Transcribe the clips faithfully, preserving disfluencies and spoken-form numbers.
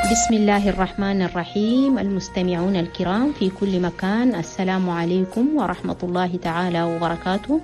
بسم الله الرحمن الرحيم. المستمعون الكرام في كل مكان، السلام عليكم ورحمة الله تعالى وبركاته.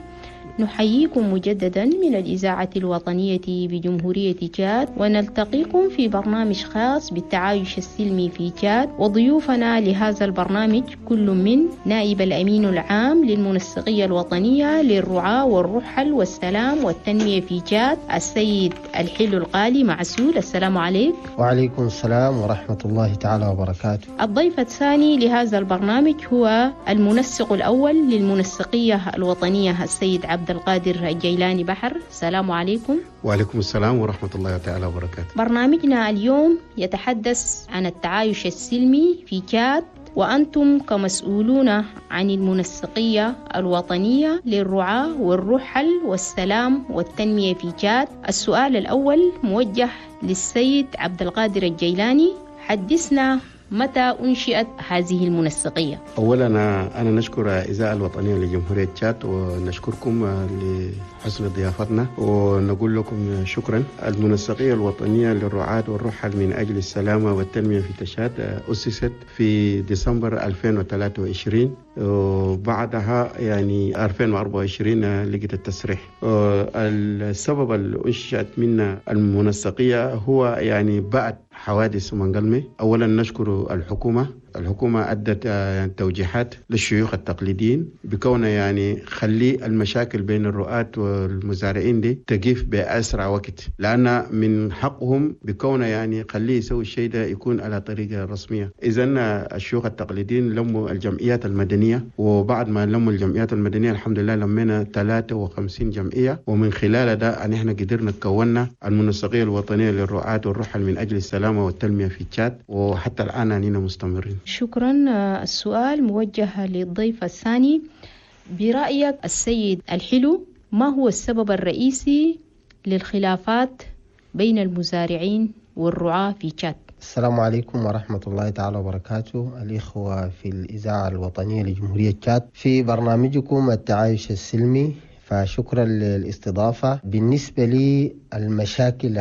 نحييكم مجددا من الإذاعة الوطنية بجمهورية تشاد، ونلتقيكم في برنامج خاص بالتعايش السلمي في تشاد. وضيوفنا لهذا البرنامج كل من نائب الأمين العام للمنسقية الوطنية للرعاة والرحل والسلام والتنمية في تشاد السيد الحلو القالي معسول، السلام عليك. وعليكم السلام ورحمة الله تعالى وبركاته. الضيف الثاني لهذا البرنامج هو المنسق الأول للمنسقية الوطنية السيد عبد القادر الجيلاني بحر، السلام عليكم. وعليكم السلام ورحمة الله تعالى وبركاته. برنامجنا اليوم يتحدث عن التعايش السلمي في تشاد، وأنتم كمسؤولون عن المنسقية الوطنية للرعاة والرحل والسلام والتنمية في تشاد. السؤال الأول موجه للسيد عبد القادر الجيلاني، حدثنا متى أنشئت هذه المنسقية؟ أولا أنا نشكر الإذاعة الوطنية لجمهورية تشاد ونشكركم لحسن ضيافتنا ونقول لكم شكرا. المنسقية الوطنية للرعاة والرحل من أجل السلامة والتنمية في تشاد أسست في ديسمبر ألفين وثلاثة وعشرين، وبعدها يعني ألفين وأربعة وعشرين لقيت التسريح. السبب اللي أنشئت منا المنسقية هو يعني بعد حوادث منقلمي. أولا نشكر الحكومة، الحكومة أدت يعني توجيهات للشيوخ التقليديين بكون يعني خلي المشاكل بين الرعاة والمزارعين دي تقف بأسرع وقت، لأن من حقهم بكون يعني خليه يسوي الشيء ده يكون على طريقة رسمية. إذن الشيوخ التقليديين لموا الجمعيات المدنية، وبعد ما لموا الجمعيات المدنية الحمد لله لمينا ثلاثة وخمسين جمعية، ومن خلال ده أن احنا قدرنا كونا المنسقية الوطنية للرعاة والرحل من أجل السلامة والتنمية في تشاد، وحتى الآن أننا مستمرين. شكرا. السؤال موجه للضيف الثاني، برأيك السيد الحلو ما هو السبب الرئيسي للخلافات بين المزارعين والرعاة في تشاد؟ السلام عليكم ورحمة الله تعالى وبركاته. الإخوة في الإذاعة الوطنية لجمهورية تشاد في برنامجكم التعايش السلمي، فشكرا للاستضافة. بالنسبة لي المشاكل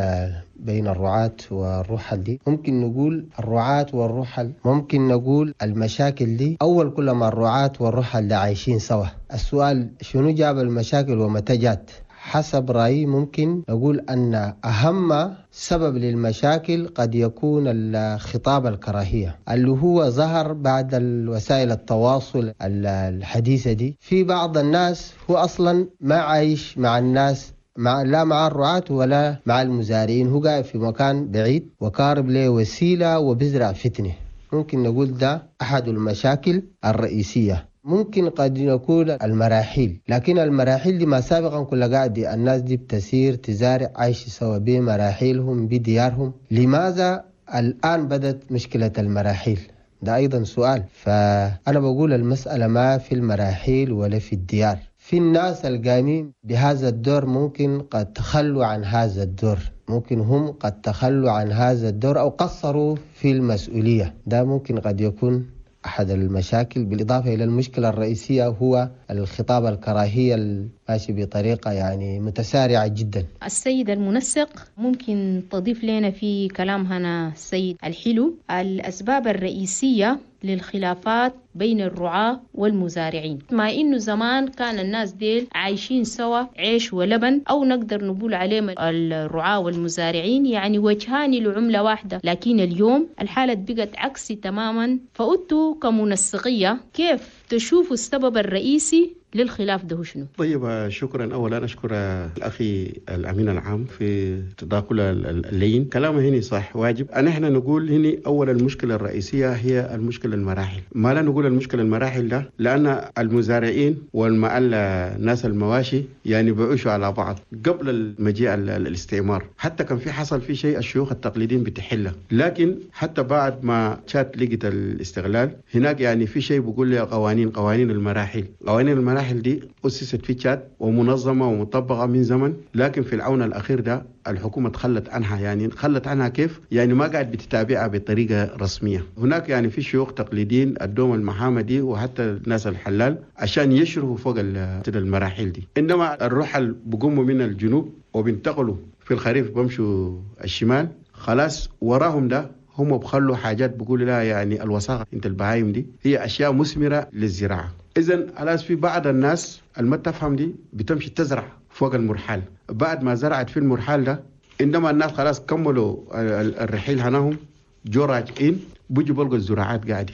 بين الرعاة والرحل دي، ممكن نقول الرعاة والرحل، ممكن نقول المشاكل دي أول كل ما الرعاة والرحل ده عايشين سوا. السؤال شنو جاب المشاكل ومتى جات؟ حسب رأيي ممكن نقول أن أهم سبب للمشاكل قد يكون الخطاب الكراهية اللي هو ظهر بعد الوسائل التواصل الحديثة دي. في بعض الناس هو أصلا ما عايش مع الناس، مع لا مع الرعاة ولا مع المزارعين، هو قاعد في مكان بعيد وكارب له وسيلة وبزرع فتنة. ممكن نقول ده أحد المشاكل الرئيسية. ممكن قد نقول المراحل، لكن المراحل دي ما سابقا كل قاعد الناس دي بتسير تزارع عايش سوا بمراحلهم بديارهم. لماذا الآن بدت مشكلة المراحل؟ ده أيضا سؤال. فأنا بقول المسألة ما في المراحل ولا في الديار، في الناس القائمين بهذا الدور ممكن قد تخلوا عن هذا الدور، ممكن هم قد تخلوا عن هذا الدور أو قصروا في المسؤولية. ده ممكن قد يكون أحد المشاكل، بالإضافة إلى المشكلة الرئيسية هو الخطاب الكراهية الماشي بطريقة يعني متسارعة جدا. السيد المنسق، ممكن تضيف لنا في كلام هنا السيد الحلو الأسباب الرئيسية للخلافات بين الرعاة والمزارعين؟ مع إنه زمان كان الناس ديل عايشين سوا عيش ولبن، أو نقدر نقول عليهم الرعاة والمزارعين يعني وجهان لعملة واحدة، لكن اليوم الحالة بقت عكسي تماما. فأنتوا كمنسقية كيف تشوفوا السبب الرئيسي للخلاف ده شنو؟ طيب شكرا. اولا اشكر الاخي الامين العام في تداخل اللين، كلامه هنا صح واجب. ان احنا نقول هنا اول المشكلة الرئيسية هي المشكلة المراحل. ما لا نقول المشكلة المراحل ده لان المزارعين والمعل الناس المواشي يعني بعيشوا على بعض قبل المجيء الاستعمار، حتى كان في حصل في شيء الشيوخ التقليديين بتحله، لكن حتى بعد ما تشاد لقت الاستغلال هناك يعني في شيء بيقول لي قوانين قوانين المراحل. قوانين المراحل المراحل دي أسست في تشاد ومنظمة ومطبقة من زمن، لكن في العون الأخير ده الحكومة تخلت عنها. يعني خلت عنها كيف؟ يعني ما قاعد بتتابعها بطريقة رسمية. هناك يعني في شيوخ تقليديين الدوم المحامدي وحتى الناس الحلال عشان يشرفوا فوق المراحل دي. إنما الرحل بقوموا من الجنوب وبينتقلوا في الخريف بمشوا الشمال، خلاص وراهم ده هم بخلوا حاجات بيقولوا لها يعني الوساخه انت البهايم دي هي اشياء مثمرة للزراعة. اذا خلاص في بعض الناس اللي ما تفهم دي بتمشي تزرع فوق المرحال، بعد ما زرعت في المرحال ده عندما الناس خلاص كملوا الرحيل هناهم جو راجعين بيجوا بلقوا الزراعات قاعدة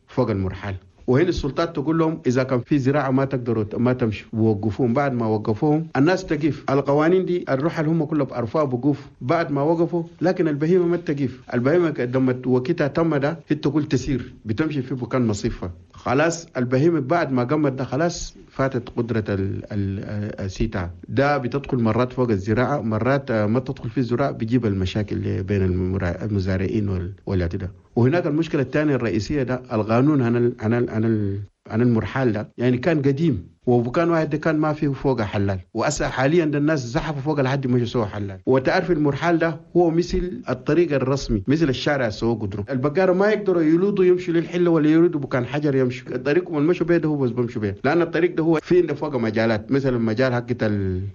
فوق المرحال، وهنا السلطات تقول لهم اذا كان في زراعة ما تقدروا ما تمشوا، ووقفوهم. بعد ما وقفوهم الناس تقف، القوانين دي الرحل هم كلهم بعرفوها بقوف بعد ما وقفوا، لكن البهيمة ما تقف، البهيمة لما وقتها تم ده هي تقول تسير بتمشي في مكان مصيفها، خلاص البهيمة بعد ما قمت ده خلاص فاتت قدره السيتا ده، بتدخل مرات فوق الزراعة، مرات ما تدخل في الزراعة، بيجيب المشاكل بين المزارعين والعتداء. وهناك المشكلة الثانية الرئيسية ده القانون عن عن عن عن المرحال ده يعني كان قديم، وكان واحد ده كان ما فيه فوق حلال، وأسا حاليا ده الناس زحفوا فوق لحد ما سووا حلال. وتعرف المرحال ده هو مثل الطريق الرسمي، مثل الشارع سووا قدروا البقارة ما يقدروا يلوضوا يمشوا للحله ولا يريدوا بكان حجر يمشوا الطريق، والمشوا بيه ده هو بس بمشوا بيه، لان الطريق ده هو في عنده فوق مجالات، مثلا مجال حقت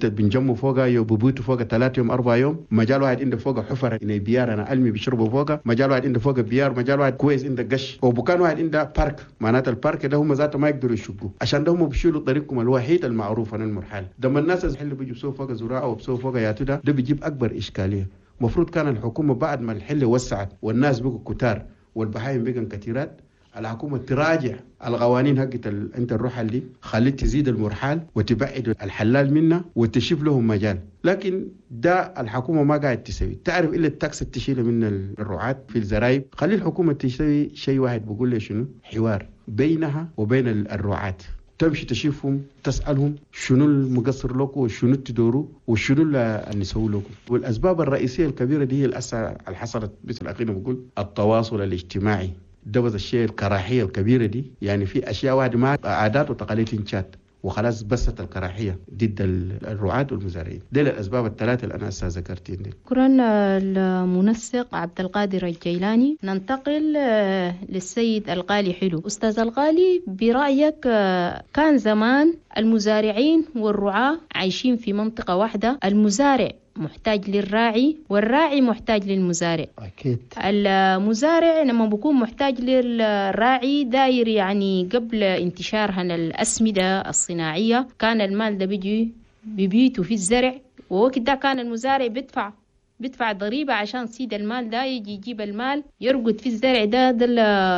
بنجموا فوق يبوتوا فوق ثلاث يوم اربع يوم، مجال واحد عنده فوق حفر يعني بيار انا علمي بيشربوا فوق، مجال واحد عنده فوق بيار، مجال واحد كويس عنده قش، وبكان واحد عنده parc، معناته ال parc ده هم ذاته ما يقدروا يشقوا عشان ده هم بيشيلوا طريق الوحيد المعروف عن المرحال. لما الناس اللي بيجوا بسووا فوق زراعة وبسووا فوق ياتو ده ده بيجيب اكبر اشكالية. المفروض كان الحكومة بعد ما الحلة وسعت والناس بقوا كتار والبهايم بقوا كثيرات، الحكومة تراجع القوانين حقت ال... انت الرحل دي، خليت تزيد المرحال وتبعد الحلال منه وتشوف لهم مجال، لكن ده الحكومة ما قاعد تسوي. تعرف الا ال taxe تشيله من الرعاة في الزرايب، خلي الحكومة تسوي شيء واحد بقول لي شنو، حوار بينها وبين الرعاة، تمشي تشوفهم تسألهم شنو المقصر لكم وشنو تدوروا وشنو اللي نسوي لكم. والأسباب الرئيسية الكبيرة دي هي الأسى اللي حصلت مثل أخينا بقول التواصل الاجتماعي ده بس الشيء الكراهية الكبيرة دي، يعني في أشياء واحدة مع عادات وتقاليد تشات وخلاص بست الكراهية ضد الرعاة والمزارعين. دي الأسباب الثلاثة اللي أنا هسه ذكرتين دي. شكرا المنسق عبد القادر الجيلاني. ننتقل للسيد الغالي حلو. أستاذ الغالي، برأيك كان زمان المزارعين والرعاة عايشين في منطقة واحدة، المزارع محتاج للراعي والراعي محتاج للمزارع. أكيد المزارع لما بيكون محتاج للراعي داير، يعني قبل انتشارها الأسمدة الصناعية كان المال ده بيجي ببيته في الزرع، ووقت ده كان المزارع بيدفع بيدفع ضريبة عشان سيد المال ده يجي يجيب المال يرقد في الزرع ده. ده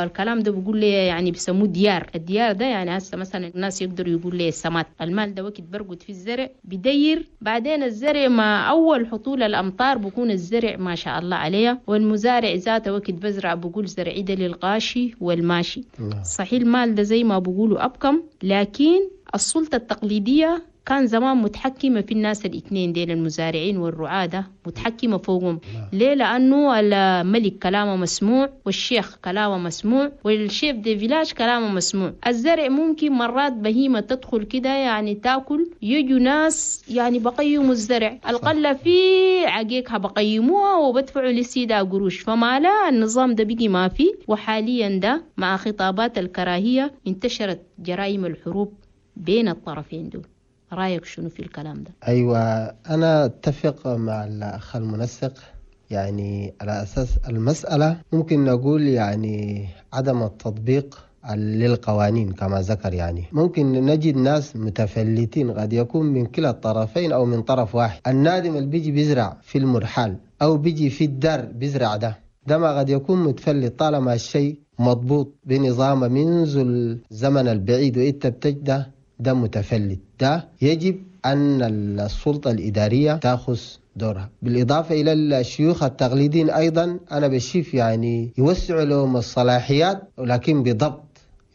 الكلام ده بيقول لي يعني بيسموه ديار، الديار ده يعني هسه مثلا الناس يقدروا يقول لي السمات، المال ده وقت برقد في الزرع بدير، بعدين الزرع مع أول حطول الأمطار بكون الزرع ما شاء الله عليه، والمزارع ذاته وقت بزرع بقول زرعي ده للغاشي والماشي. صحيح المال ده زي ما بقولوا أبكم، لكن السلطة التقليدية كان زمان متحكمة في الناس الاثنين ديل المزارعين والرعاة ده، متحكمة فوقهم. ليه؟ لأنه الملك كلامه مسموع، والشيخ كلامه مسموع، وال chef de village كلامه مسموع. الزرع ممكن مرات بهيمة تدخل كده يعني تاكل، يجوا ناس يعني بقيموا الزرع، القلة في عقيقها بقيموها وبدفعوا للسيدة قروش. فما لا النظام ده بقي ما فيه. وحاليا ده مع خطابات الكراهية انتشرت جرائم الحروب بين الطرفين دول. رأيك شنو في الكلام ده؟ أيوة، أنا أتفق مع الأخ المنسق، يعني على أساس المسألة ممكن نقول يعني عدم التطبيق للقوانين كما ذكر، يعني ممكن نجد ناس متفلتين قد يكون من كلا الطرفين أو من طرف واحد. النادم اللي بيجي بيزرع في المرحال أو بيجي في الدار بيزرع ده ده ما قد يكون متفلت طالما الشيء مضبوط بنظام منذ الزمن البعيد وإنت بتجده ده متفلت. ده يجب أن السلطة الإدارية تأخذ دورها. بالإضافة إلى الشيوخ التقليديين أيضا أنا بشوف يعني يوسعوا لهم الصلاحيات، ولكن بضبط،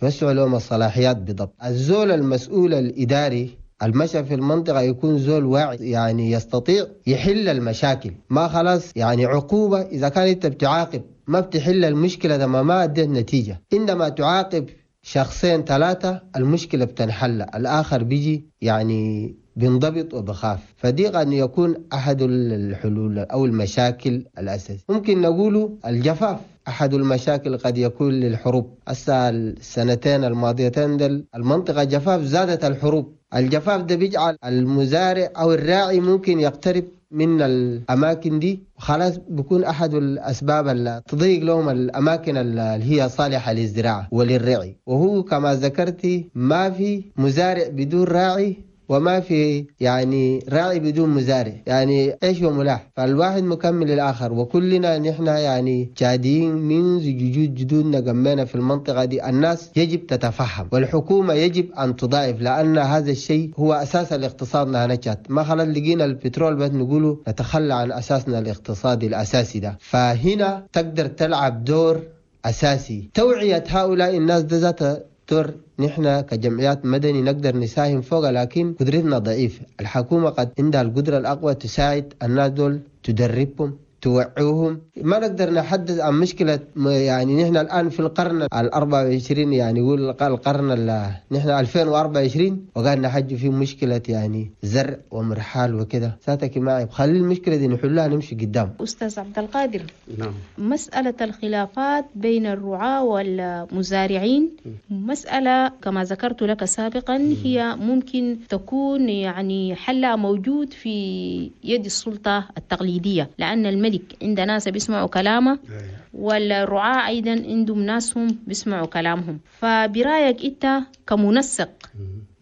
يوسعوا لهم الصلاحيات بضبط. الزول المسؤول الإداري المشى في المنطقة يكون زول واعي، يعني يستطيع يحل المشاكل، ما خلاص يعني عقوبة إذا كان أنت بتعاقب ما بتحل المشكلة، ده ما ما أديت نتيجة. إنما تعاقب شخصين ثلاثة المشكلة بتنحل، الآخر بيجي يعني بينضبط وبخاف. فدي قد يكون أحد الحلول أو المشاكل الأساسية. ممكن نقوله الجفاف أحد المشاكل قد يكون للحروب. هسه السنتين الماضيتين دل المنطقة جفاف، زادت الحروب. الجفاف ده بيجعل المزارع أو الراعي ممكن يقترب من الأماكن دي، خلاص بيكون أحد الأسباب اللي تضيق لهم الأماكن اللي هي صالحة للزراعة وللرعي. وهو كما ذكرتي ما في مزارع بدون راعي، وما في يعني راعي بدون مزارع، يعني عيش وملاح، فالواحد مكمل للآخر. وكلنا نحن يعني جادين منذ جدود جدودنا قمنا في المنطقة دي. الناس يجب تتفهم، والحكومة يجب أن تضاعف، لأن هذا الشيء هو أساس الاقتصاد. نحن ما خلاص لقينا البترول بس نقوله نتخلى عن أساسنا الاقتصادي الأساسي ده. فهنا تقدر تلعب دور أساسي توعية هؤلاء الناس ده ذات دور نحن كجمعيات مدني نقدر نساهم فوق، لكن قدرتنا ضعيفة. الحكومة قد عندها القدرة الأقوى تساعد الناس دول، تدربهم، توعوهم. ما نقدر نحدث عن مشكلة، يعني نحن الآن في القرن الأربعة وعشرين، يعني يقول القرن نحن ألفين وأربعة وعشرين وقال نحج في مشكلة يعني زرع ومرحال وكذا. ساتك معي خلي المشكلة دي نحلها نمشي قدام. أستاذ عبد القادر، نعم. مسألة الخلافات بين الرعاة والمزارعين مسألة كما ذكرت لك سابقا هي ممكن تكون يعني حلها موجود في يد السلطة التقليدية، لأن الملك عند ناس بيسمعوا كلامه والرعاة أيضا عندهم ناسهم بيسمعوا كلامهم. فبرأيك أنت كمنسق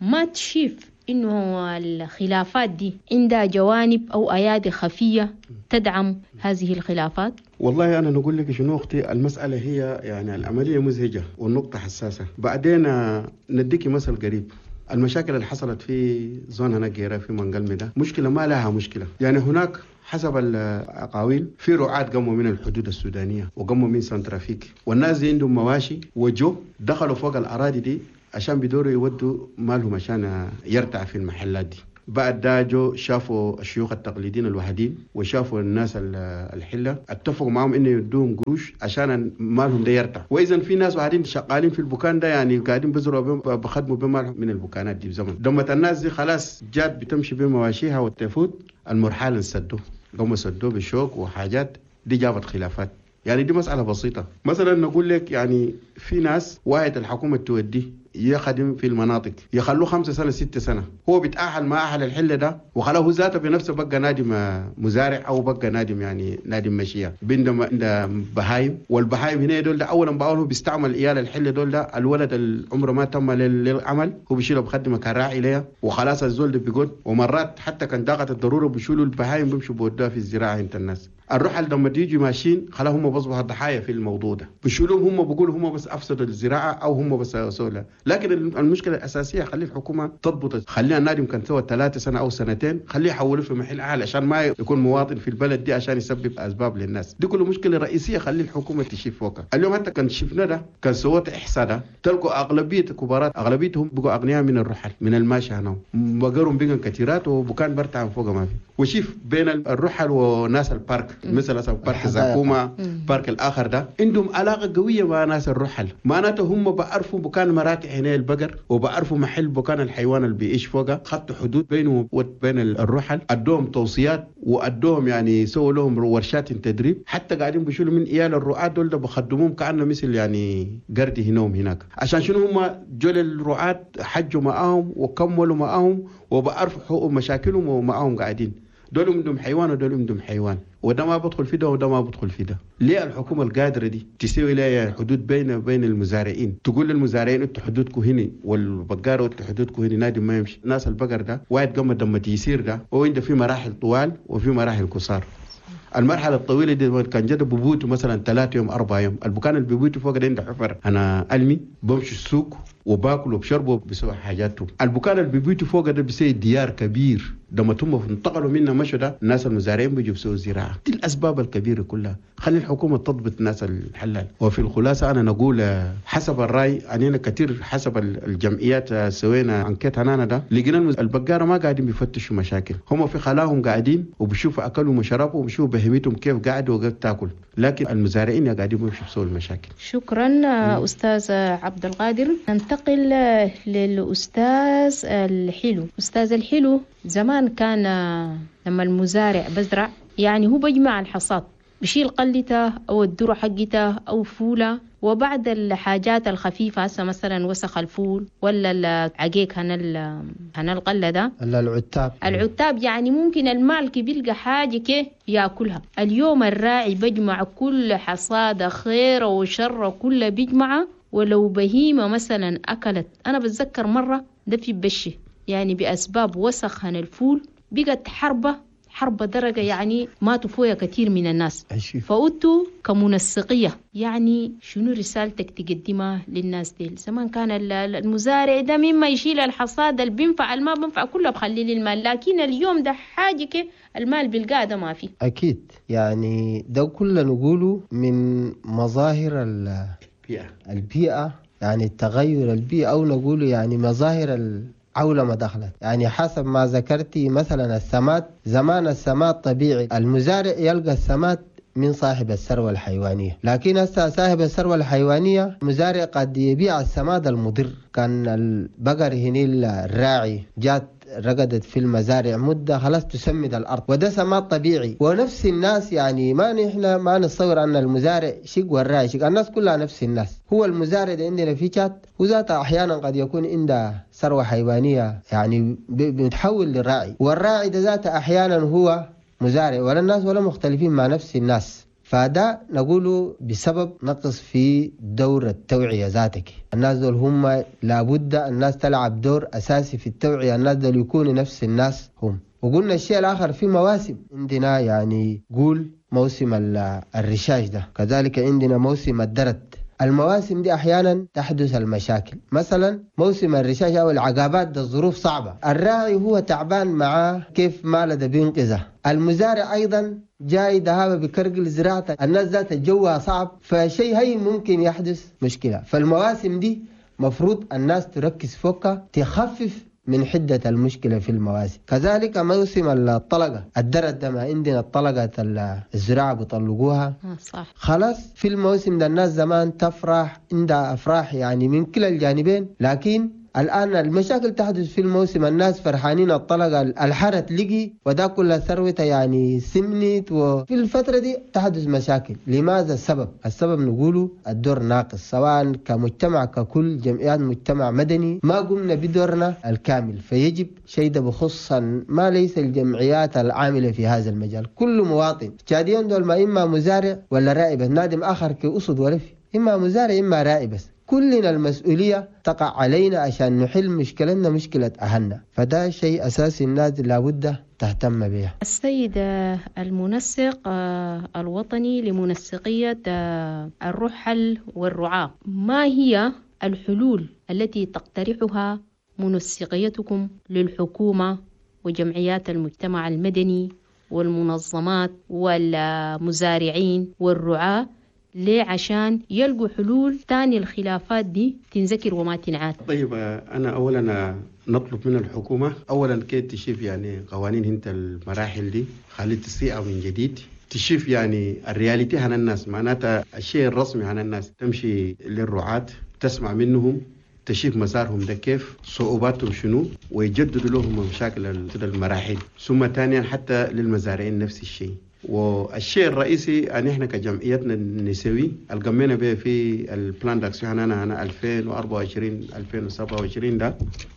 ما تشوف إنه الخلافات دي عندها جوانب أو أيادي خفية تدعم هذه الخلافات؟ والله أنا نقول لك شنو أختي، المسألة هي يعني العملية مزعجة والنقطة حساسة. بعدين نديكي مثل قريب، المشاكل اللي حصلت في زون هناك في منقلمي ده مشكلة ما لها مشكلة. يعني هناك حسب الأقاويل في رعاة قاموا من الحدود السودانية وقاموا من سنترافيك، والناس دي عندهم مواشي وجو دخلوا فوق الأراضي دي عشان بيدوروا يودوا مالهم عشان يرتع في المحلات دي. بعد ده جو شافوا الشيوخ التقليديين الوحيدين وشافوا الناس الحلة، اتفقوا معهم انه يدوهم قروش عشان مالهم ده يرتع. واذا في ناس وحدين شغالين في البكان ده، يعني قاعدين بزرعوا بخدموا بمالهم من البكانات دي بزمن. لما الناس دي خلاص جات بتمشي بمواشيها وتفوت المرحال سدوه، قاموا سدوه بالشوك وحاجات دي جابت خلافات. يعني دي مسألة بسيطة. مثلا نقول لك يعني في ناس واحد الحكومة توديه يخدم في المناطق يخلوه خمسة سنة ستة سنة، هو بيتأهل مع أهل الحلة ده وخلوه ذاته بنفسه بقى نادم مزارع أو بقى نادم يعني نادم مشية بندم عند بهايم. والبهايم هنا دول ده أولا بأول هو بيستعمل إيال الحلة دول ده، الولد العمر ما تم للعمل هو بيشيله بخدمة كراعي ليه وخلاص الزول ده بيقول. ومرات حتى كان ضاقت الضرورة بيشيلوا البهايم بيمشوا بودوها في الزراعة عند الناس. الرحل لما تيجي ماشيين خلاهم هم بصبحوا الضحايا في الموضوع ده، بيشيلوهم هم بيقولوا هم بس افسدوا الزراعة او هم بس سووا. لكن المشكلة الاساسية خلي الحكومة تضبط، خليها النادم كان سوى ثلاثة سنة او سنتين خليه يحولوه في محل اعلى عشان ما يكون مواطن في البلد دي عشان يسبب اسباب للناس دي. كل مشكلة رئيسية خلي الحكومة تشيف فوقها. اليوم حتى كان شفنا ده كان سوت احصاء ده تلقوا اغلبية الكبارات اغلبيتهم بقوا اغنياء من الرحل من الماشي هنا بقرهم بقوا كثيرات وبكان برتعن فوق ما في. وشيف بين الرحل وناس البارك مثل مثلا بارك زاكوما بارك الاخر ده عندهم علاقة قوية مع ناس الرحل، معناته هم بعرفوا بكان مراتع هنا البقر وبعرفوا محل بكان الحيوان اللي بيعيش فوقه، خطوا حدود بينه وبين الرحل، ادوهم توصيات وادوهم يعني سووا لهم ورشات تدريب، حتى قاعدين بيشيلوا من عيال الرعاة دول ده بخدموهم كانه مثل يعني قردي هناهم هناك. عشان شنو هم جول الرعاة حجوا معاهم وكملوا معاهم وبعرفوا حقوق مشاكلهم ومعاهم قاعدين. دول عندهم حيوان ودول عندهم حيوان، وده ما بدخل في ده وده ما بدخل في ده. ليه الحكومة القادرة دي تسوي لها حدود بين وبين المزارعين؟ تقول للمزارعين انتوا حدودكم هنا والبقاره انتوا حدودكم هنا، نادي ما يمشي. ناس البقر ده واحد قام دم تيسير ده وعنده في مراحل طوال وفي مراحل قصار. المرحلة الطويلة دي كان جد ببوته مثلا ثلاثة يوم أربعة يوم، البكان اللي ببوته فوق ده عنده حفر. أنا ألمي بمشي السوق وباكل وبشرب وبسوي حاجاته. البكان اللي ببيته فوق ده بيسوي ديار كبير، لما هم انتقلوا منا مشوا ده الناس المزارعين بيجوا بيسووا زراعة. دي الأسباب الكبيرة كلها. خلي الحكومة تضبط الناس الحلال. وفي الخلاصة أنا نقول حسب الرأي أننا كثير حسب الجمعيات سوينا أنكيت هنا ده لقينا البقارة ما قاعدين بيفتشوا مشاكل، هم في خلاهم قاعدين وبيشوفوا أكلهم وشربوا وبيشوفوا بهمتهم كيف قاعدوا وكيف تاكل، لكن المزارعين قاعدين بيمشوا بيسووا المشاكل. شكرا أستاذ عبد القادر. ننتقل للأستاذ الحلو. أستاذ الحلو، زمان كان لما المزارع بزرع يعني هو بيجمع الحصاد، بشيل قلته أو الذرة حقته أو فولة وبعد الحاجات الخفيفة، هسه مثلا وسخ الفول ولا العقيق هنا هنا القلة ده العتاب العتاب يعني ممكن المالك بيلقى حاجة كي ياكلها. اليوم الراعي بجمع كل حصادة خير وشر كله بيجمعه، ولو بهيمة مثلا أكلت، أنا بتذكر مرة ده في بشي يعني بأسباب وسخ هنا الفول بقت حربة حرب درجة يعني ماتوا فويا كثير من الناس. فأنتوا كمنسقية يعني شنو رسالتك تقدمها للناس دي؟ زمان كان المزارع ده مما يشيل الحصاد اللي بينفع ما بينفع كله بخليه للمال، لكن اليوم ده حاجة كي المال بالقادة ما في. أكيد يعني ده كله نقوله من مظاهر البيئة البيئة يعني التغير البيئة، أو نقوله يعني مظاهر ال عولمة دخلت. يعني حسب ما ذكرتي مثلا السماد، زمان السماد طبيعي المزارع يلقى السماد من صاحب الثروة الحيوانية، لكن هسه صاحب الثروة الحيوانية مزارع قد يبيع السماد المضر. كان البقر هني الراعي جات رقدت في المزارع مدة خلاص تسمد الأرض، وده سماد طبيعي. ونفس الناس يعني ما نحن ما نتصور أن المزارع شق والراعي شق، الناس كلها نفس الناس. هو المزارع ده عندنا في شات وذاته أحيانا قد يكون عنده ثروة حيوانية يعني بيتحول للراعي، والراعي ده ذاته أحيانا هو مزارع، ولا الناس ولا مختلفين مع نفس الناس. فده نقوله بسبب نقص في دور التوعية ذاتك. الناس دول هم لابد الناس تلعب دور أساسي في التوعية، الناس دول يكونوا نفس الناس هم. وقلنا الشيء الآخر في مواسم عندنا، يعني قول موسم الرشاش ده، كذلك عندنا موسم الدرد. المواسم دي أحيانا تحدث المشاكل، مثلا موسم الرشاش أو العقابات ده الظروف صعبة، الراعي هو تعبان معاه كيف ماله ده بينقذه، المزارع أيضا جاي دهابة بكرقل زراعته، الناس ذات جوها صعب، فشيء هي ممكن يحدث مشكلة. فالمواسم دي مفروض الناس تركز فوقها تخفف من حدة المشكلة في المواسم. كذلك موسم الطلقة الدرد ده، ما عندنا الطلقة الزراعة بيطلقوها صح. خلاص في الموسم ده الناس زمان تفرح عندها أفراح يعني من كلا الجانبين، لكن الآن المشاكل تحدث في الموسم، الناس فرحانين الطلقة الحرت لقي وده كل ثروته يعني سمنت، وفي الفترة دي تحدث مشاكل. لماذا السبب؟ السبب نقوله الدور ناقص، سواء كمجتمع ككل جمعيات مجتمع مدني ما قمنا بدورنا الكامل. فيجب شيء ده بخص ما ليس الجمعيات العاملة في هذا المجال، كل مواطن تشاديين دول ما إما مزارع ولا راعي بس، نادم آخر كأسد ولا في إما مزارع إما راعي بس، كلنا المسؤولية تقع علينا عشان نحل مشكلتنا مشكلة أهلنا. فده شيء أساسي الناس لابد تهتم به. السيد المنسق الوطني لمنسقية الرحل والرعاة، ما هي الحلول التي تقترحها منسقيتكم للحكومة وجمعيات المجتمع المدني والمنظمات والمزارعين والرعاة ليه عشان يلقوا حلول تاني الخلافات دي تنذكر وما تنعاد؟ طيب أنا أولا نطلب من الحكومة أولا كي تشوف يعني قوانين هنت المراحل دي خلي تصيغ من جديد، تشوف يعني ال réalité عن الناس، معناتها الشيء الرسمي عن الناس، تمشي للرعاة تسمع منهم، تشوف مسارهم ده كيف، صعوباتهم شنو، ويجددوا لهم مشاكل المراحل. ثم ثانيا حتى للمزارعين نفس الشيء. والشيء الرئيسي ان احنا كجمعيتنا النسوي القمينا به في ال plan d'action انا انا ألفين وأربعة وعشرين ألفين وسبعة وعشرين ده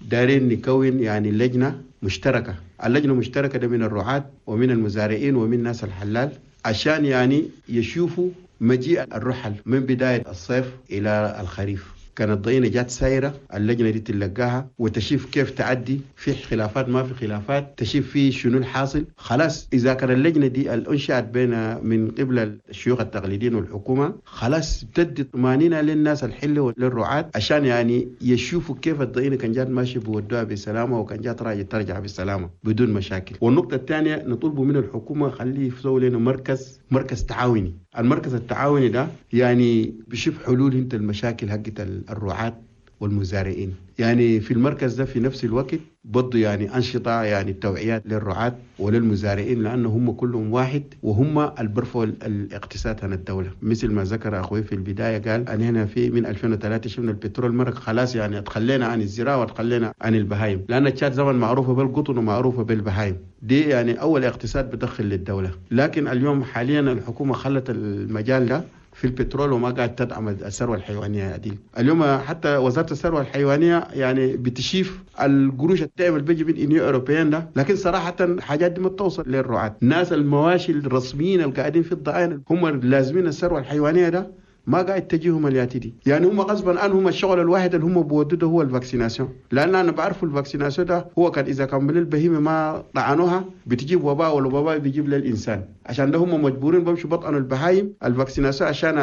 دارين نكون يعني لجنه مشتركه، اللجنه المشتركه ده من الرعاة ومن المزارعين ومن ناس الحلال، عشان يعني يشوفوا مجيء الرحل من بدايه الصيف الى الخريف. كانت ضينة جات سايرة اللجنة دي تلقاها وتشوف كيف تعدي، في خلافات ما في خلافات، تشوف في شنو الحاصل. خلاص إذا كان اللجنة دي أنشأت بين من قبل الشيوخ التقليديين والحكومة، خلاص بتدي طمأنينة للناس الحلة وللرعاة عشان يعني يشوفوا كيف الضينة كان جات ماشي بودوها بسلامة وكان جات راجع ترجع بسلامة بدون مشاكل. والنقطة الثانية نطلب من الحكومة خليه يسوي لنا مركز مركز تعاوني. المركز التعاوني ده يعني بيشوف حلول انت المشاكل حقت الرعاة والمزارعين. يعني في المركز ده في نفس الوقت برضه يعني أنشطة يعني التوعيات للرعاة وللمزارعين، لأنه هم كلهم واحد وهم اللي برفعوا الاقتصاد عن الدولة. مثل ما ذكر أخوي في البداية قال أن هنا في من ألفين وثلاثة شفنا البترول مرق خلاص، يعني اتخلينا عن الزراعة وتخلينا عن البهايم، لأن التشاد زمن معروفة بالقطن ومعروفة بالبهايم دي، يعني أول اقتصاد بدخل للدولة. لكن اليوم حاليا الحكومة خلت المجال ده في البترول وما قاعد تدعم الثروة الحيوانية دي. اليوم حتى وزارة الثروة الحيوانية يعني بتشيف القروش الدعم اللي بيجي من Union Européenne ده، لكن صراحة حاجات دي ما توصل للرعاة. الناس المواشي الرسميين اللي قاعدين في الضعين هم لازمين الثروة الحيوانية ده ما قاعد تجيهم الياتي دي، يعني هم غصبا عنهم الشغل الواحد اللي هم بودوه هو ال vaccination، لان انا بعرف ال vaccination ده هو كان اذا كان من البهيمة ما طعنوها بتجيب وباء، والوباء بيجيب للانسان، عشان ده هم مجبورين بمشوا بطعنوا البهايم ال vaccination عشان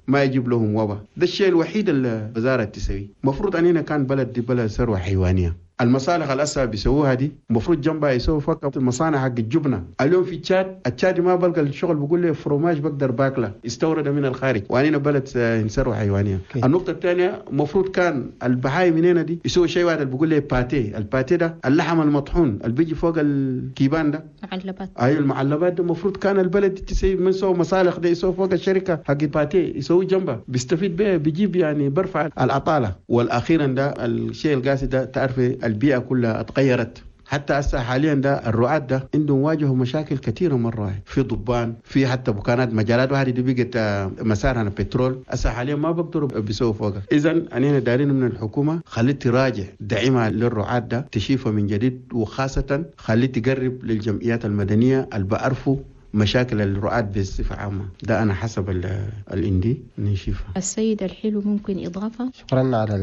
ما يجيب لهم وباء. ده الشيء الوحيد اللي الوزارة تسويه. المفروض اننا كان بلد دي بلد ثروة حيوانية، المصالح الأسا بيسووها دي المفروض جنبها يسووا فقط المصانع حق الجبنة. اليوم في تشاد التشاد ما بلقى الشغل، بقول لي فروماج بقدر باكله استورده من الخارج، وأنا بلد ثروة حيوانية. النقطة الثانية المفروض كان البهايم من هنا دي يسووا شيء واحد اللي بقول لي pâté، ال pâté ده اللحم المطحون اللي بيجي فوق الكيبان ده، معلبات، ايوه المعلبات ده المفروض كان البلد تسوي من سووا مصالح ده يسووا فوق الشركة حق ال pâté يسووا جنبها بيستفيد به، بيجيب يعني برفع العطاله. والاخيرا ده الشيء القاسي ده تعرف البيئة كلها اتغيرت، حتى هسه حاليا ده الرعاة ده عندهم واجهوا مشاكل كثيرة مرة واحد. في ضبان، في حتى بكانات مجالات واحدة دي بقت مسارها البترول، هسه حاليا ما بقدروا بيسووا فوقها. اذا انا دارين من الحكومة خلي تراجع دعمها للرعاة ده تشيفه من جديد، وخاصة خلي تقرب للجمعيات المدنية اللي بعرفوا مشاكل الرعاة بصفة عامة. ده أنا حسب الإندي نشوفها. السيد الحلو ممكن إضافة؟ شكرا على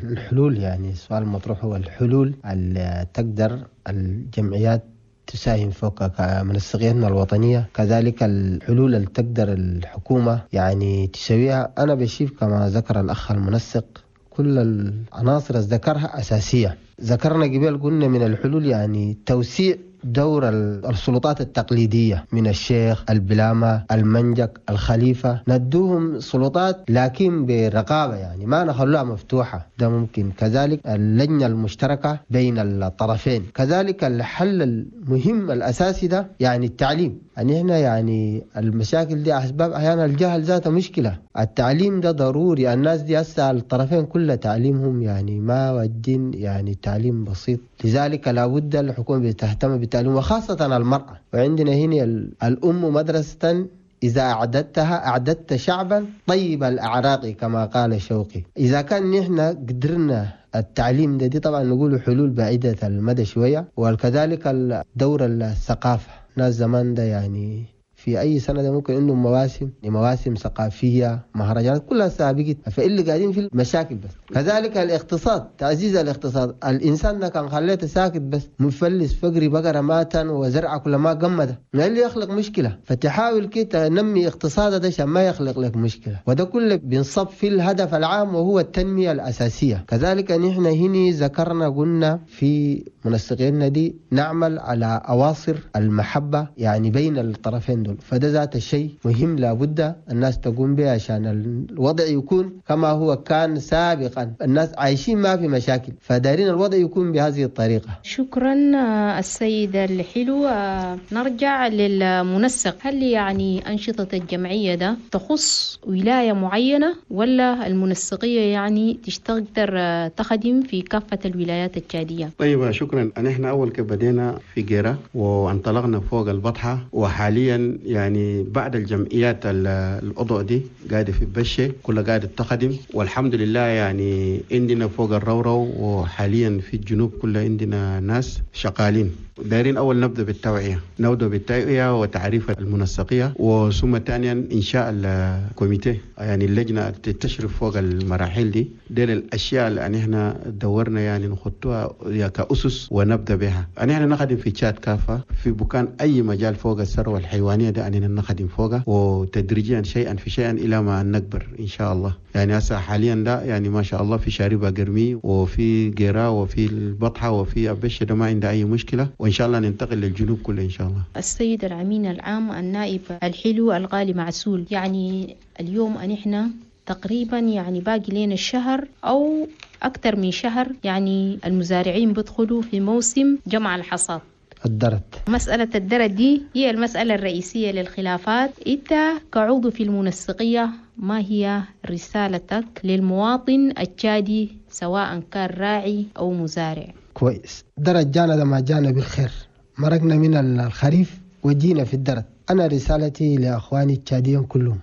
الحلول. يعني السؤال المطروح هو الحلول اللي تقدر الجمعيات تساهم فوق كمنسقيتنا الوطنية، كذلك الحلول اللي تقدر الحكومة يعني تسويها. أنا بشوف كما ذكر الأخ المنسق كل العناصر ذكرها أساسية. ذكرنا قبل قلنا من الحلول يعني توسيع دور السلطات التقليدية من الشيخ، البلامة، المنجك، الخليفة، ندوهم سلطات لكن برقابة، يعني ما نخلوها مفتوحة، ده ممكن. كذلك اللجنة المشتركة بين الطرفين. كذلك الحل المهم الأساسي ده يعني التعليم. يعني هنا يعني المشاكل دي أسباب أحيانا الجهل ذاته مشكلة، التعليم ده ضروري. الناس دي هسه الطرفين كل تعليمهم يعني ما ودين، يعني تعليم بسيط، لذلك لابد الحكومة تهتم بالتعليم وخاصة المرأة. وعندنا هنا الأم مدرسة إذا أعددتها أعددت شعبا طيب الأعراق كما قال شوقي. إذا كان نحن قدرنا التعليم ده دي طبعا نقول حلول بعيدة المدى شوية. وكذلك الدور الثقافة، ناس زمان ده يعني في أي سنة ده ممكن عندهم مواسم مواسم ثقافية، مهرجانات كلها سابقت، فاللي قاعدين في المشاكل بس. كذلك الاقتصاد، تعزيز الاقتصاد. الإنسان ده كان خليته ساكت بس مفلس فقري بقرة ماتا وزرعة كل ما قمده، ما اللي يخلق مشكلة. فتحاول كي تنمي اقتصاده ده عشان ما يخلق لك مشكلة، وده كله بينصب في الهدف العام وهو التنمية الأساسية. كذلك نحن هنا ذكرنا قلنا في منسقينا دي نعمل على أواصر المحبة يعني بين الطرفين دول، فده ذات الشيء مهم لابد الناس تقوم به عشان الوضع يكون كما هو كان سابقا، الناس عايشين ما في مشاكل، فدارين الوضع يكون بهذه الطريقة. شكرا السيد الحلو. نرجع للمنسق، هل يعني أنشطة الجمعية ده تخص ولاية معينة ولا المنسقية يعني تقدر تخدم في كافة الولايات التشادية؟ طيب شكرا. نحن أول كيف بدينا في جيرة وانطلقنا فوق البطحة، وحاليا يعني بعد الجمعيات الأضوء دي قاعدة في بشة كلها قاعدة تخدم، والحمد لله يعني عندنا فوق الرورو وحاليا في الجنوب كلها عندنا ناس شغالين. دايرين أول نبدأ بالتوعية، نبدأ بالتوعية وتعريف المنسقية، وثم ثانيا إنشاء ال comité يعني اللجنة تشرف فوق المراحل دي. دي الأشياء اللي احنا دورنا يعني نخطوها كأسس ونبدأ بها. احنا نخدم في تشاد كافة في بكان أي مجال فوق الثروة الحيوانية ده أننا نخدم فوقها، وتدريجيا شيئا في شيئا إلى ما نكبر إن شاء الله. يعني هسه حاليا ده يعني ما شاء الله في شاربة قرمي وفي قيرة وفي البطحة وفي أبشة، ده ما عنده أي مشكلة، وإن شاء الله ننتقل للجنوب كله إن شاء الله. السيد الأمين العام النائب الحلو الغالي معسول، يعني اليوم أن إحنا تقريبا يعني باقي لنا الشهر أو أكثر من شهر يعني المزارعين بيدخلوا في موسم جمع الحصاد. الدرت، مسألة الدرت دي هي المسألة الرئيسية للخلافات. أنت كعضو في المنسقية، ما هي رسالتك للمواطن التشادي سواء كان راعي أو مزارع؟ كويس. درت جانا ده ما جانا بالخير، مرقنا من الخريف وجينا في الدرت. أنا رسالتي لأخواني التشاديين كلهم،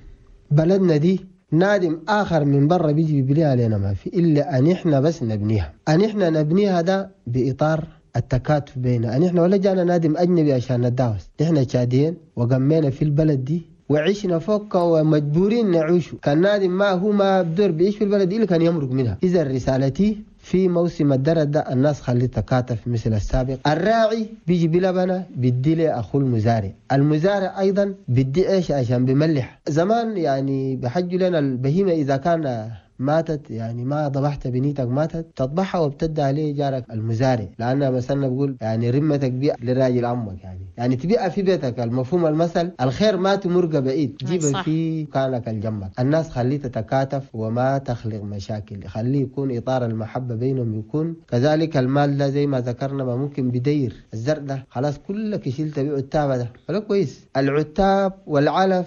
بلدنا دي نادم آخر من برا بيجي بيبنيها علينا ما في إلا أن إحنا بس نبنيها. أن إحنا نبنيها ده بإطار التكاتف بيننا. أن إحنا ولا جانا نادم أجنبي عشان نداوس، إحنا تشاديين وقمينا في البلد دي وعشنا فوق ومجبورين نعيشه. كان نادم ما هو ما بدور بيعيش في البلد إلا كان يمرق منها. إذا رسالتي في موسم الدرد ده الناس خلي تكاتف مثل السابق. الراعي بيجي بلبنة بدي له أخو المزارع، المزارع أيضا بدي إيش عشان بملح. زمان يعني بحجوا لنا البهيمة إذا كان ماتت، يعني ما ضبحت بنيتك ماتت، تطبحها وبتدي عليه جارك المزارع، لأن مثلا بقول يعني رمتك بيع لراجل عمك، يعني يعني تبيع في بيتك. المفهوم المثل الخير ما تمرق بعيد، جيبه في مكانك الجنبك. الناس خليه تتكاتف وما تخلق مشاكل، خليه يكون إطار المحبة بينهم يكون كذلك. المال ده زي ما ذكرنا ما ممكن بدير الزرع ده خلاص كلك شيل تبيع عتابة ده ولا كويس. العتاب والعلف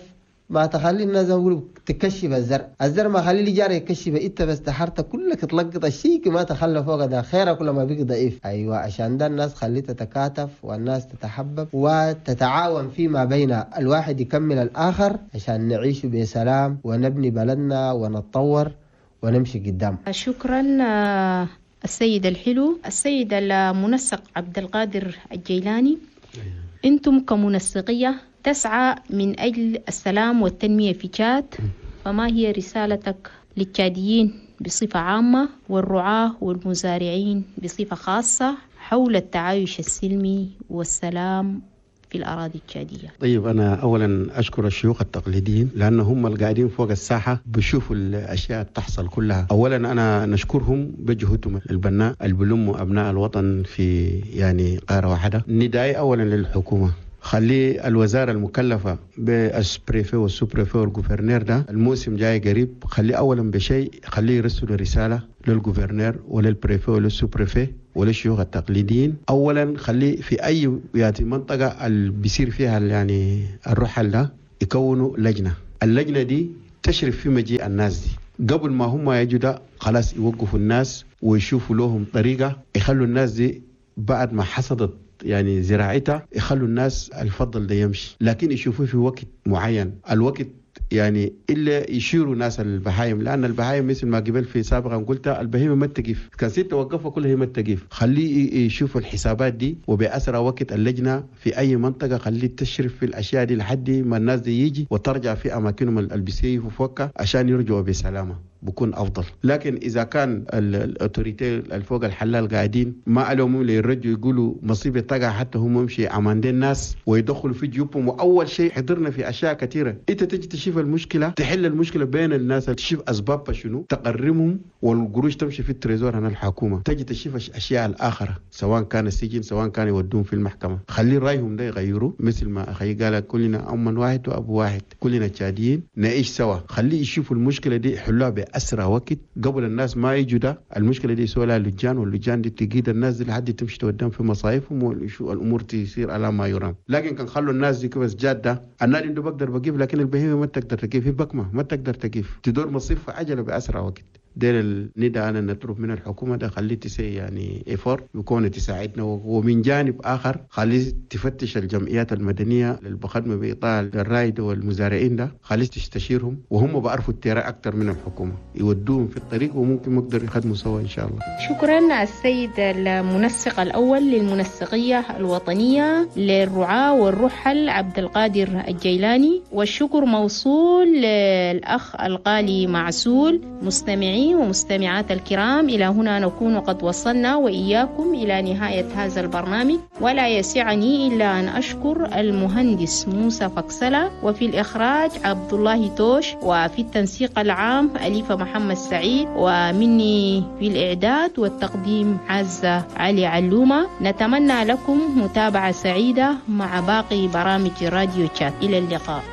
ما تخلي الناس يقولوا تكشف الزرع، الزرع ما خلي لي جاري يكشف، انت بس تحرت كلك تلقط الشيء ما تخلى فوق ده خيره كل ما بيك ضعيف. ايوه، عشان ده الناس خلي تتكاتف والناس تتحبب وتتعاون فيما بين، الواحد يكمل الاخر عشان نعيش بسلام ونبني بلدنا ونتطور ونمشي قدام. شكرا السيد الحلو. السيد المنسق عبد القادر الجيلاني، انتم كمنسقية تسعى من أجل السلام والتنمية في تشاد، فما هي رسالتك للتشاديين بصفة عامة والرعاة والمزارعين بصفة خاصة حول التعايش السلمي والسلام في الأراضي التشادية؟ طيب، أنا أولا أشكر الشيوخ التقليديين لأن هم القاعدين فوق الساحة بيشوفوا الأشياء تحصل كلها. أولا أنا نشكرهم بجهودهم البناء اللي بلموا أبناء الوطن في يعني قارة واحدة. ندائي أولا للحكومة، خلي الوزارة المكلفة بال préfet وال sous-préfet وال gouverneur ده الموسم جاي قريب، خلي أولا بشيء خليه يرسلوا رسالة لل gouverneur ولل préfet ولل sous-préfet وللشيوخ التقليديين. أولا خلي في أي يعني منطقة اللي بيصير فيها يعني الرحل ده يكونوا لجنة، اللجنة دي تشرف في مجيء الناس دي قبل ما هم يجوا ده خلاص يوقفوا الناس ويشوفوا لهم طريقة يخلوا الناس دي بعد ما حصدت يعني زراعتها يخلوا الناس الفضل ده يمشي، لكن يشوفوه في وقت معين. الوقت يعني إلا يشيروا ناس البهايم، لأن البهايم مثل ما قبل في سابقا قلت البهيمة ما تقف، كان ستة وقفها كلها هي ما تقف. خليه يشوفوا الحسابات دي وبأسرع وقت اللجنة في أي منطقة خليه تشرف في الأشياء دي لحد ما الناس دي يجي وترجع في أماكنهم اللي بيسيفوا فوقها عشان يرجعوا بسلامة، بكون أفضل. لكن إذا كان ال autorités الفوق الحلال قاعدين ما لهم اللي يرجعوا يقولوا مصيبة تقع حتى هم يمشي عماندين الناس ويدخلوا في جيوبهم. وأول شيء حضرنا في أشياء كثيرة، أنت تجي تشوف المشكلة تحل المشكلة بين الناس، تشوف أسبابها شنو تقرمهم والقروش تمشي في ال trésor هنا الحكومة، تجي تشوف أشياء الآخرة سواء كان السجن سواء كان يودون في المحكمة. خلي رأيهم ده يغيروا، مثل ما أخي قال كلنا أم واحد وأبو واحد، كلنا تشاديين نعيش سوا. خليه يشوفوا المشكلة دي حلوها بأسرع وقت قبل الناس ما يجوا ده. المشكلة دي يسوي لها لجان، واللجان دي تقيد الناس دي لحد تمشي تودهم في مصايفهم والأمور تصير على ما يرام. لكن كان خلوا الناس دي كبس جادة، النادي عنده بقدر بقيف لكن البهيمة ما تقدر تقيف، بكمة ما تقدر تقيف، تدور مصيف عجلة بأسرع وقت. دير النداء أنا نطلب من الحكومة ده خليه تسي يعني effort يكون تساعدنا، ومن جانب آخر خليه تفتش الجمعيات المدنية اللي بخدمة بإطار الرايد والمزارعين ده، خليه تستشيرهم وهم بعرفوا ال terrain أكثر من الحكومة، يودوهم في الطريق وممكن نقدر يخدموا سوا إن شاء الله. شكرا السيد المنسق الأول للمنسقية الوطنية للرعاة والرحل عبد القادر الجيلاني، والشكر موصول للأخ الغالي معسول. مستمعين ومستمعات الكرام، إلى هنا نكون قد وصلنا وإياكم إلى نهاية هذا البرنامج، ولا يسعني إلا أن أشكر المهندس موسى فكسلة، وفي الإخراج عبد الله توش، وفي التنسيق العام أليفة محمد سعيد، ومني في الإعداد والتقديم عزة علي علومة. نتمنى لكم متابعة سعيدة مع باقي برامج راديو تشاد. إلى اللقاء.